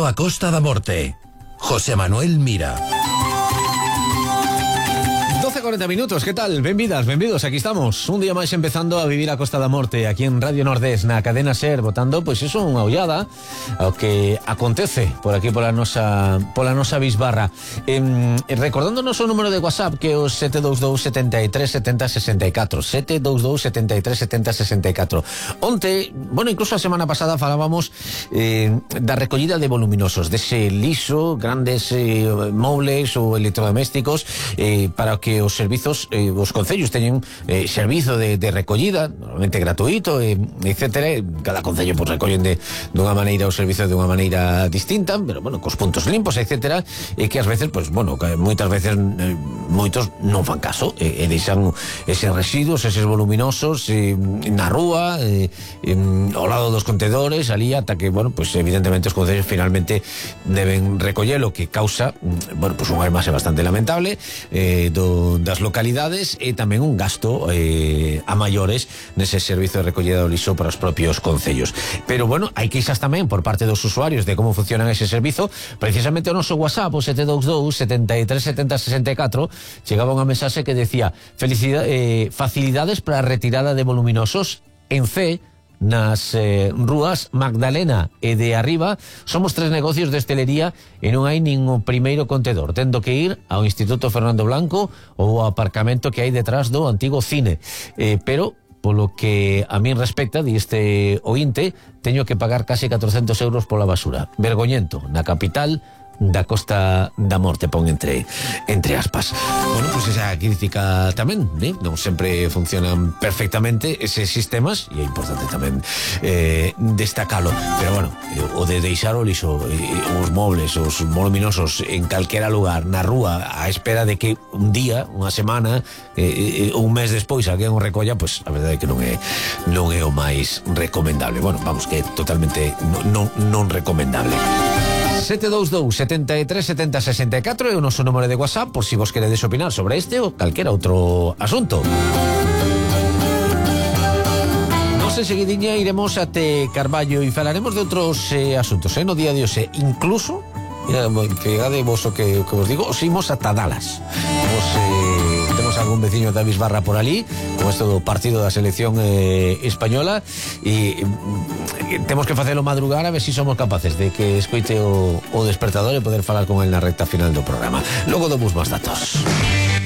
Bienvenido a Costa da Morte. José Manuel Mira. 12:40 minutos, ¿qué tal? Benvidos, aquí estamos. Un día máis empezando a vivir a Costa da Morte, aquí en Radio Nordés, na cadena SER, botando, pois iso, unha ollada ao que acontece por aquí pola nosa bisbarra. Recordándonos o número de WhatsApp, que é o 722 73 70 64, 722 73 70 64. Onte, bueno, incluso a semana pasada falábamos da recollida de voluminosos, dese liso, grandes mobles ou electrodomésticos, para que os servizos, os concellos teñen servizo de recollida, normalmente gratuito, etcétera. Cada concello pues recollen dunha maneira o servizo de unha maneira distinta, pero bueno, cos puntos limpos, etcétera, e que ás veces, pues bueno, que moitas veces moitos non fan caso e deixan eses residuos, eses voluminosos na rúa, ao lado dos contedores, ali, ata que, bueno, pues evidentemente os concellos finalmente deben recollelo, que causa, bueno, pues unha imaxe bastante lamentable das localidades e tamén un gasto a maiores nese servizo de recollida do lixo para os propios concellos. Pero bueno, hai queixas tamén por parte dos usuarios de como funcionan ese servizo. Precisamente o noso WhatsApp, o 722 73 70 64, chegaba unha mensaxe que decía: facilidades para a retirada de voluminosos en C nas rúas Magdalena e de Arriba. Somos 3 negocios de hostelería e non hai nin o primeiro contedor, tendo que ir ao Instituto Fernando Blanco ou ao aparcamento que hai detrás do antigo cine, pero polo que a min respecta, di este ointe, teño que pagar casi 400 euros pola basura. Vergoñento, na capital da Costa da Morte, pon entre aspas. Bueno, pues esa crítica tamén, non sempre funcionan perfectamente eses sistemas e é importante tamén destacalo. Pero bueno, o de deixar o lixo, os mobles, os voluminosos en calquera lugar, na rúa, á espera de que un día, unha semana, un mes despois alguén o recolla, pues a verdade é que non é o máis recomendable. Bueno, vamos, que é totalmente non recomendable. 722 73 70 64 é o noso número de WhatsApp por si vos queredes opinar sobre este ou calquera outro asunto. Nos enseguidiña iremos até Carballo e falaremos de outros asuntos no día de hoxe. Incluso, fíjate vos o que vos digo, os imos ata Dallas. Temos algún veciño da Bisbarra por ali, con isto do partido da selección española, e temos que facelo madrugar a ver se somos capaces de que escoite o despertador e poder falar con el na recta final do programa. Logo damos máis datos.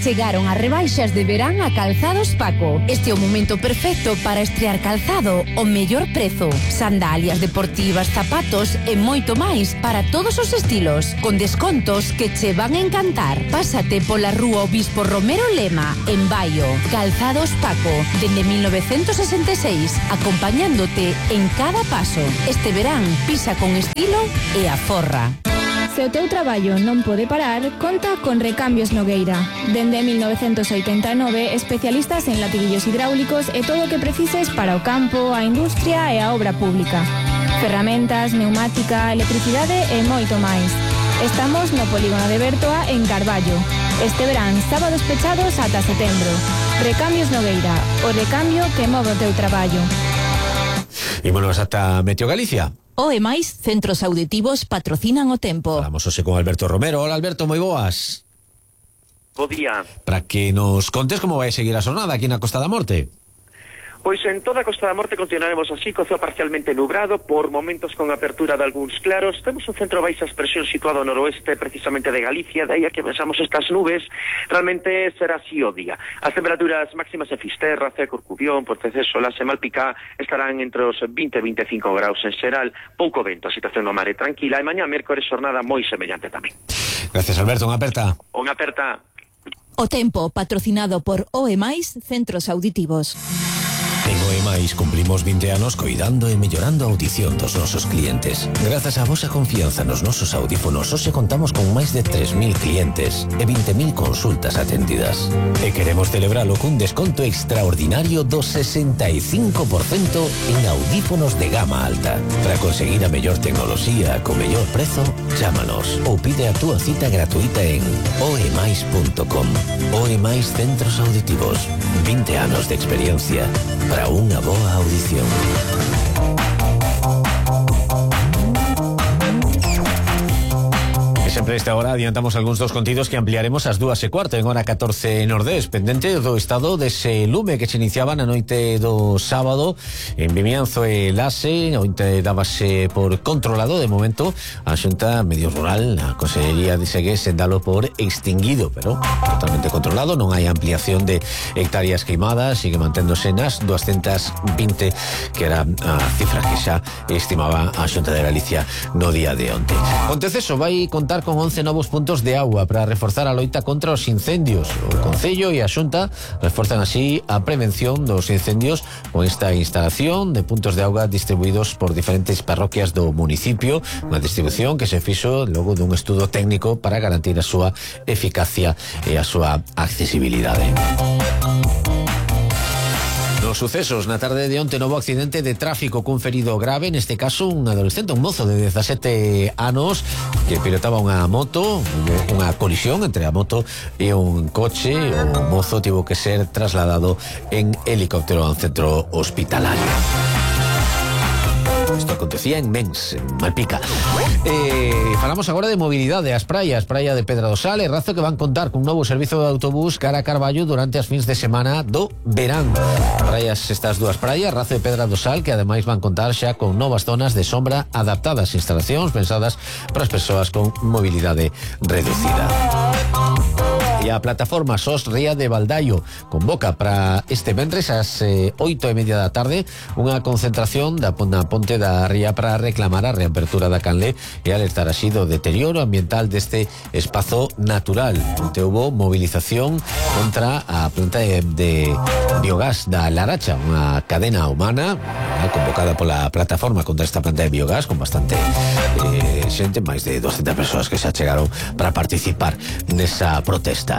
Chegaron as rebaixas de verán a Calzados Paco. Este é o momento perfecto para estrear calzado ao mellor prezo. Sandalias deportivas, zapatos e moito máis para todos os estilos, con descontos que che van a encantar. Pásate pola rúa Obispo Romero Lema, en Baio. Calzados Paco, dende 1966, acompañándote en cada paso. Este verán pisa con estilo e aforra. Se o teu traballo non pode parar, conta con Recambios Nogueira. Dende 1989, especialistas en latiguillos hidráulicos e todo o que precises para o campo, a industria e a obra pública. Ferramentas, neumática, electricidade e moito máis. Estamos no polígono de Bertoa, en Carballo. Este verán, sábados pechados ata setembro. Recambios Nogueira, o recambio que move o teu traballo. E bueno, ata Meteo Galicia. O e máis centros auditivos patrocinan o tempo. Falamos hoxe con Alberto Romero. Hola Alberto, moi boas. Bo día. Para que nos contes como vai seguir a xornada aquí na Costa da Morte. Pois en toda a Costa da Morte continuaremos así, co ceo parcialmente nubrado, por momentos con apertura de algúns claros. Temos un centro baixas presión situado ao noroeste, precisamente de Galicia, de aí a que pensamos estas nubes, realmente será así o día. As temperaturas máximas en Fisterra, Corcubión, Ponteceso, Laxe, Malpicá, estarán entre os 20 e 25 graus en xeral, pouco vento, a situación no mar é tranquila, e mañá mércores xornada moi semellante tamén. Gracias Alberto, unha aperta. Unha aperta. O tempo patrocinado por OE+, Centros Auditivos. En OE+, cumplimos 20 anos coidando e mellorando a audición dos nosos clientes. Grazas á vosa confianza nos nosos audífonos, hoxe contamos con máis de 3.000 clientes e 20.000 consultas atendidas. E queremos celebralo cun desconto extraordinario do 65% en audífonos de gama alta. Para conseguir a mellor tecnoloxía co mellor prezo, chámanos ou pide a túa cita gratuita en oemais.com. OE+ Centros Auditivos. 20 anos de experiencia para unha boa audición. Desta hora adiantamos algúns dos contidos que ampliaremos ás 2:15 en hora 14 Nordés, pendente do estado dese lume que se iniciaba na noite do sábado en Vimianzo e Lase. Ointe dábase por controlado. De momento a Xunta Medio Rural, a Consellería de Segués, dalo por extinguido, pero totalmente controlado. Non hai ampliación de hectáreas queimadas, sigue manténdose nas 220, que era a cifra que xa estimaba a Xunta de Galicia no día de onte. Ponteceso vai contar con 11 novos puntos de agua para reforzar a loita contra os incendios. O Concello e a Xunta reforzan así a prevención dos incendios con esta instalación de puntos de auga distribuídos por diferentes parroquias do municipio, unha distribución que se fixo logo dun estudo técnico para garantir a súa eficacia e a súa accesibilidade. Nos sucesos, na tarde de onte, novo accidente de tráfico cun ferido grave, neste caso un adolescente, un mozo de 17 anos que pilotaba unha moto, unha colisión entre a moto e un coche. O mozo tivo que ser trasladado en helicóptero a un centro hospitalario. Isto acontecía en Mens, en Malpica. Falamos agora de mobilidade. As praias, Praia de Pedra do Sal e Razo, que van contar cun novo servizo de autobús cara a Carballo durante as fins de semana do verán. Praias, estas dúas praias, Razo e Pedra do Sal, que ademais van contar xa con novas zonas de sombra adaptadas, instalacións pensadas para as persoas con mobilidade reducida. E a plataforma SOS Ría de Baldaio convoca para este venres ás 8:30 da tarde unha concentración na ponte da ría para reclamar a reapertura da canle e alertar así do deterioro ambiental deste espazo natural. Onte houbo movilización contra a planta de biogás da Laracha, unha cadena humana convocada pola plataforma contra esta planta de biogás, con bastante xente, máis de 200 persoas que se achegaron para participar nesa protesta.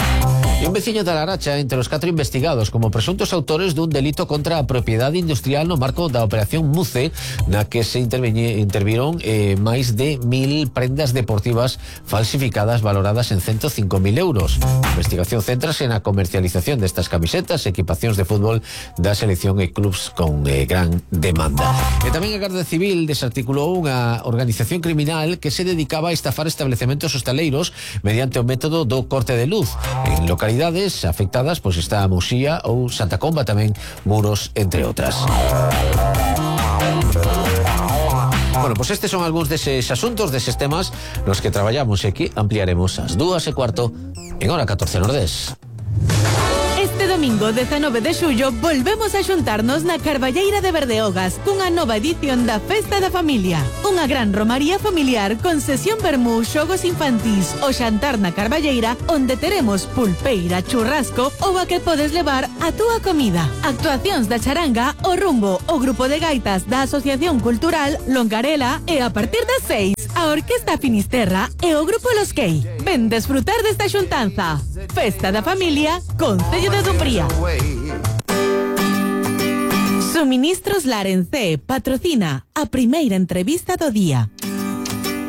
E un veciño da Laracha entre os 4 investigados como presuntos autores dun delito contra a propiedade industrial no marco da operación Muce, na que se interviron máis de 1000 prendas deportivas falsificadas valoradas en 105.000 euros. A investigación céntrase na comercialización destas camisetas, equipacións de fútbol da selección e clubs con gran demanda. E tamén a Garda Civil desarticulou unha organización criminal que se dedicaba a estafar establecementos hostaleiros mediante o método do corte de luz en localidades afectadas, pois está a Muxía ou Santa Comba, tamén Muros, entre outras. Bueno, pues estes son algúns deses asuntos, deses temas nos que traballamos e que ampliaremos ás 2:15 en hora 14 Nordés. Este domingo 19 de xullo volvemos a xuntarnos na Carballeira de Berdeogas cunha nova edición da Festa da Familia. Unha gran romaría familiar con sesión vermú, xogos infantís, o xantar na Carballeira, onde teremos pulpeira, churrasco ou a que podes levar a túa comida. Actuacións da charanga, o rumbo, o grupo de gaitas da Asociación Cultural Longarela e a partir das 6 a Orquesta Finisterra e o grupo Los Key. Ven desfrutar desta xuntanza. Festa da Familia, Concello de Dumbría. Suministros Larencé patrocina a primeira entrevista do día.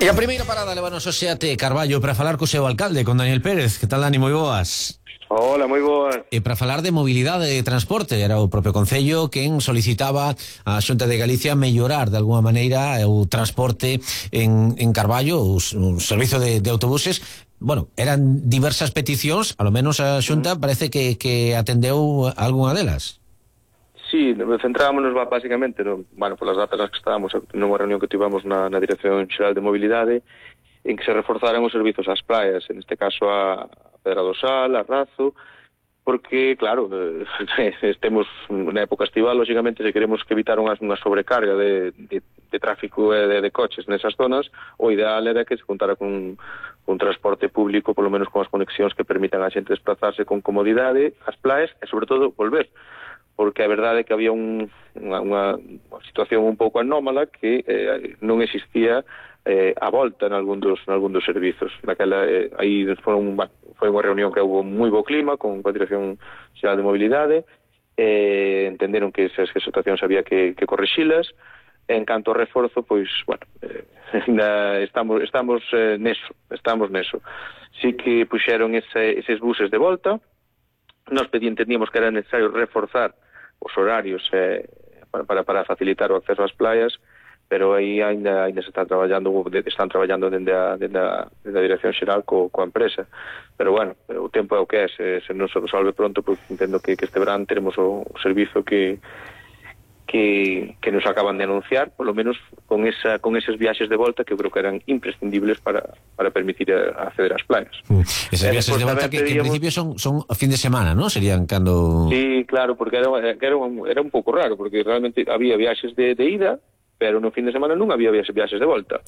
E a primeira parada levanos o Seate Carballo para falar co seu alcalde, con Daniel Pérez. Que tal, Dani? Moi boas. Hola, moi boas. E para falar de mobilidade e transporte, era o propio Concello quen solicitaba a Xunta de Galicia mellorar de alguma maneira o transporte en Carballo, o servizo de autobuses. Bueno, eran diversas peticións, a lo menos a Xunta parece que atendeu algunha delas. Sí, centrámonos basicamente polas datas nas que estábamos nunha reunión que tivemos na Dirección Xeral de Mobilidade, en que se reforzaran os servizos ás praias, en este caso a Pedra do Sal, a Razo, porque, claro, estemos na época estival, lógicamente, se queremos que evitar unha sobrecarga de tráfico e de coches nesas zonas, o ideal era que se contara con un transporte público, polo menos con as conexións que permitan a xente desplazarse con comodidade ás praias e, sobre todo, volver. Porque a verdade é que había unha situación un pouco anómala que non existía a volta en algún dos servizos. Naquela, aí foi unha reunión que houve moi bo clima con a Dirección Xeral de Mobilidade, entenderon que esas situacións había que correxilas. En canto ao reforzo, pois, estamos neso. Sí que puxeron eses buses de volta. Nos entendíamos que era necesario reforzar os horarios para facilitar o acceso ás playas, pero aí ainda se están traballando dende a Dirección Xeral coa empresa, pero bueno, o tempo é o que é, se non se resolve pronto, porque entendo que este verán teremos o servizo que nos acaban de anunciar, por lo menos con esos viaxes de volta que eu creo que eran imprescindibles para permitir acceder ás playas. Esas viaxes de volta que en principio son a fin de semana, ¿no? Serían cando... Sí, claro, porque era un pouco raro, porque realmente había viaxes de ida, pero no fin de semana non había viaxes de volta.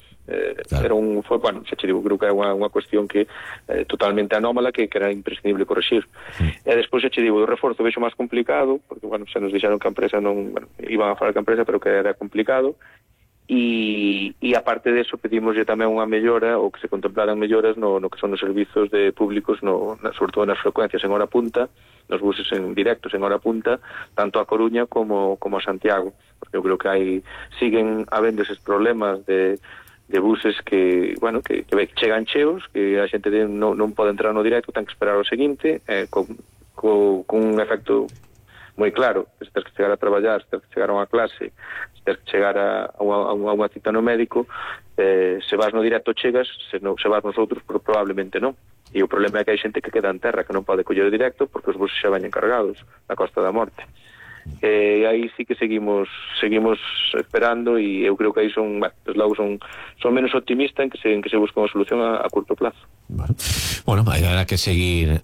Claro. Xa te digo, creo que é unha cuestión que totalmente anómala, que era imprescindible corregir. E despois, xa te digo, o reforzo vexo máis complicado, porque, xa nos dixeron que a empresa non... iban a falar que a empresa, pero que era complicado, e aparte deso pedimoslle tamén unha mellora, ou que se contemplaran melloras no que son os servizos de públicos, sobre todo nas frecuencias en hora punta, nos buses en directos en hora punta, tanto a Coruña como a Santiago, porque eu creo que siguen habendo eses problemas de buses que chegan cheos, que a xente non pode entrar no directo, ten que esperar o seguinte, con un efecto moi claro, se tens que chegar a traballar, se tens que chegar a unha clase, se tens que chegar a unha cita no médico, se vas no directo chegas, se vas nos outros probablemente non. E o problema é que hai xente que queda en terra, que non pode coller o directo porque os buses xa veñen cargados na Costa da Morte. E aí sí que seguimos esperando, e eu creo que aí son menos optimistas en que se busca unha solución a curto plazo. Bueno, habrá que seguir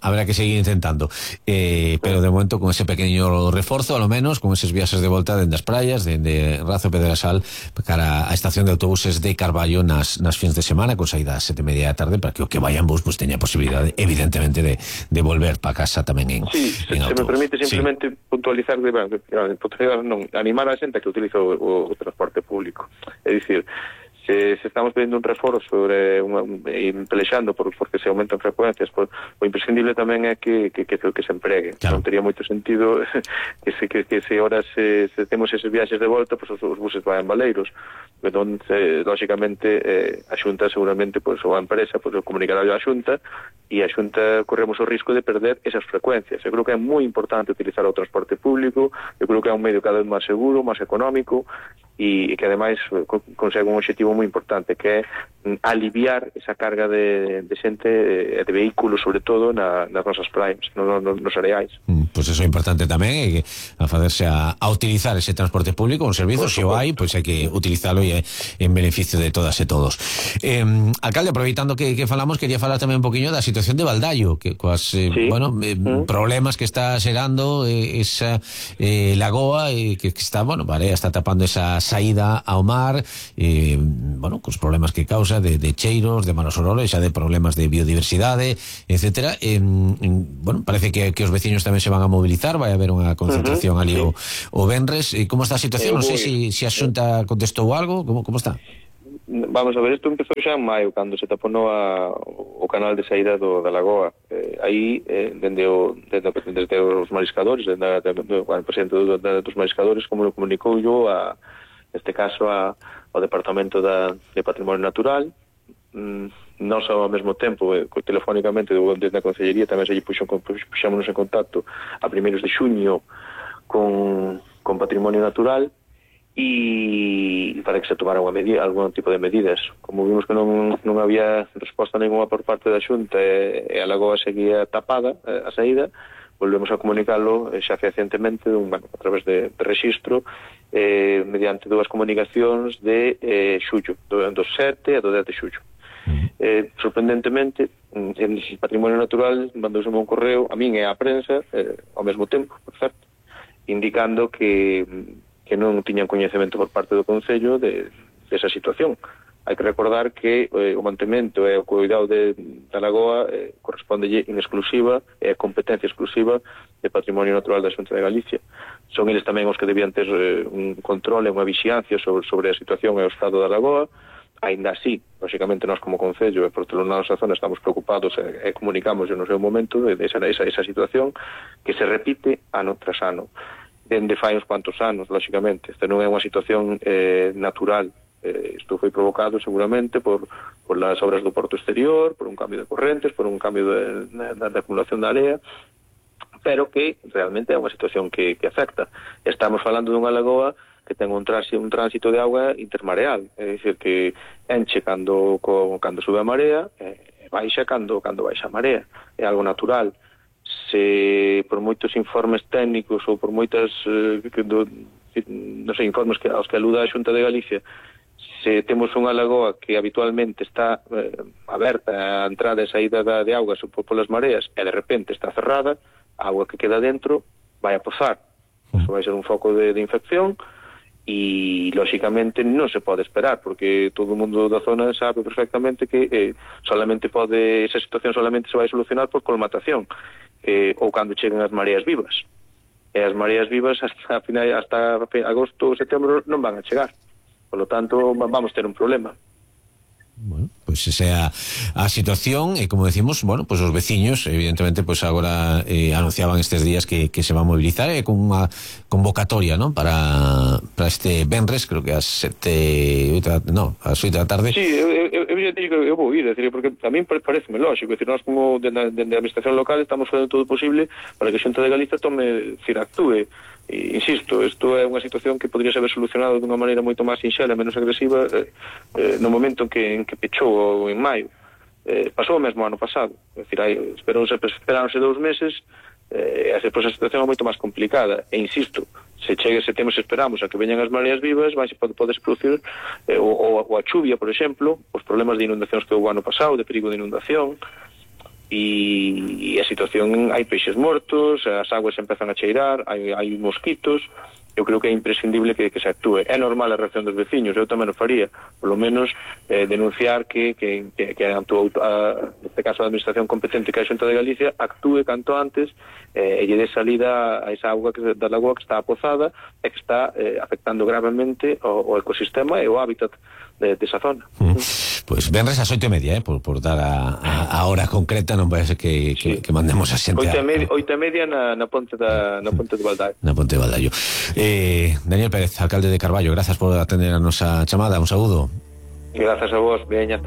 intentando, pero de momento con ese pequeño reforzo, a lo menos con esos viajes de volta dende as praias, dende Razo e Pedrasal cara a estación de autobuses de Carballo nas fins de semana, con saída a 7:30 da tarde, para que o que vayan bus pues teña posibilidade, evidentemente, de volver para casa tamén en autobús. Se me permite simplemente puntualizar, animar a xente que utiliza o transporte público. É dicir, se estamos pedindo un reforzo sobre pelexando porque se aumentan frecuencias, o imprescindible tamén é que se empregue. Claro. Non tería moito sentido que se ahora se temos eses viaxes de volta, pues os buses vayan baleiros. Entón, lógicamente, a Xunta seguramente, ou a empresa, comunicará a Xunta, e a Xunta corremos o risco de perder esas frecuencias. Eu creo que é moi importante utilizar o transporte público, eu creo que é un medio cada vez máis seguro, máis económico, e que ademais consegue un objetivo moi importante, que é aliviar esa carga de xente e de vehículos, sobre todo nas nosas praias, nos areais. Pois eso é importante tamén, a facerse a utilizar ese transporte público, un servizo, se o hai, pois hai que utilizalo e en beneficio de todas e todos. Alcalde, aproveitando que falamos, quería falar tamén un poquinho da situación de Valdallo, que coas problemas que está xerando esa lagoa, que está, Barea está tapando esa saída ao mar, cos problemas que causa de cheiros, de malos olores, xa de problemas de biodiversidade, etcétera. Parece que os veciños tamén se van a mobilizar, vai haber unha concentración ali o venres. Como está a situación? Non sei se a Xunta contestou algo, como está? Vamos a ver, isto empezou xa en maio, cando se taponou o canal de saída da lagoa. Aí, desde os mariscadores, o presidente dos mariscadores, como lo comunicou yo, neste caso, ao Departamento de Patrimonio Natural, non só ao mesmo tempo, telefónicamente, desde a Consellería, tamén se puxámonos en contacto a primeiros de xuño con Patrimonio Natural, e para que se tomara algún tipo de medidas. Como vimos que non había resposta ninguna por parte da Xunta e a lagoa seguía tapada a saída, volvemos a comunicarlo xa fehacientemente a través de registro, mediante dúas comunicacións de xullo, do 7 e do 10 de xullo. Sorprendentemente, el Patrimonio Natural mandouse un correo a min e á prensa ao mesmo tempo, por certo, indicando que non tiñan coñecemento por parte do Concello desa situación. Hai que recordar que o mantemento e o cuidado da lagoa correspondelle en exclusiva, é competencia exclusiva de Patrimonio Natural da Xunta de Galicia. Son eles tamén os que debían ter un control e unha vixiancia sobre a situación e o estado da lagoa. Ainda así, lógicamente, nós como Concello e por toda a nosa zona estamos preocupados e comunicamos no seu momento esa situación que se repite ano tras ano. Dende fai uns cuantos anos, lógicamente. Esta non é unha situación natural. Isto foi provocado seguramente por las obras do porto exterior, por un cambio de correntes, por un cambio da acumulación da area, pero que realmente é unha situación que afecta. Estamos falando dunha lagoa que ten un tránsito de auga intermareal, é dicir, que enche cando sube a marea, baixa cando baixa a marea, é algo natural. Se por moitos informes técnicos ou por moitas informes aos que aluda a Xunta de Galicia, se temos unha lagoa que habitualmente está aberta a entrada e saída de augas polas mareas e de repente está cerrada, a auga que queda dentro vai a pozar. Eso vai ser un foco de infección e, lóxicamente, non se pode esperar, porque todo o mundo da zona sabe perfectamente que esa situación solamente se vai solucionar por colmatación, ou cando cheguen as mareas vivas. E as mareas vivas hasta agosto ou setembro non van a chegar. Por lo tanto, vamos ter un problema. Bueno, pues esa a situación, como decimos, bueno, pues os veciños, evidentemente, pues agora anunciaban estes días que se va a movilizar con unha convocatoria, ¿no? Para este venres, creo que ás 8 da tarde. Sí, eu vou ir, decir, porque a mí pareceme lógico, decir, nós como de a administración local estamos facendo todo o posible para que a Xunta de Galicia actúe. E, insisto, isto é unha situación que podría ser solucionado dunha maneira moito máis sinxela, menos agresiva, no momento en que pechou en maio. Pasou o mesmo ano pasado, é dicir, esperáronse 2 meses, e a situación é moito máis complicada, e insisto, se esperamos a que veñan as mareas vivas, podes producir ou a chuvia, por exemplo, os problemas de inundacións que houve ano pasado, de perigo de inundación, e a situación, hai peixes mortos, as aguas empezan a cheirar, hai mosquitos. Eu creo que é imprescindible que se actúe. É normal a reacción dos veciños, eu tamén o faría, por lo menos denunciar que neste caso a administración competente, que é a Xunta de Galicia, actúe canto antes e lle dé salida a esa auga da lagoa que está apozada e que está afectando gravemente o ecosistema e o hábitat desa zona. Pues venres ás 8:30, por dar a hora concreta, non parece que mandemos a xente 8:30 na ponte de Baldaio. Na ponte de Baldaio. Daniel Pérez, alcalde de Carballo, grazas por atender a nosa chamada, un saúdo. Grazas a vos, veña, hasta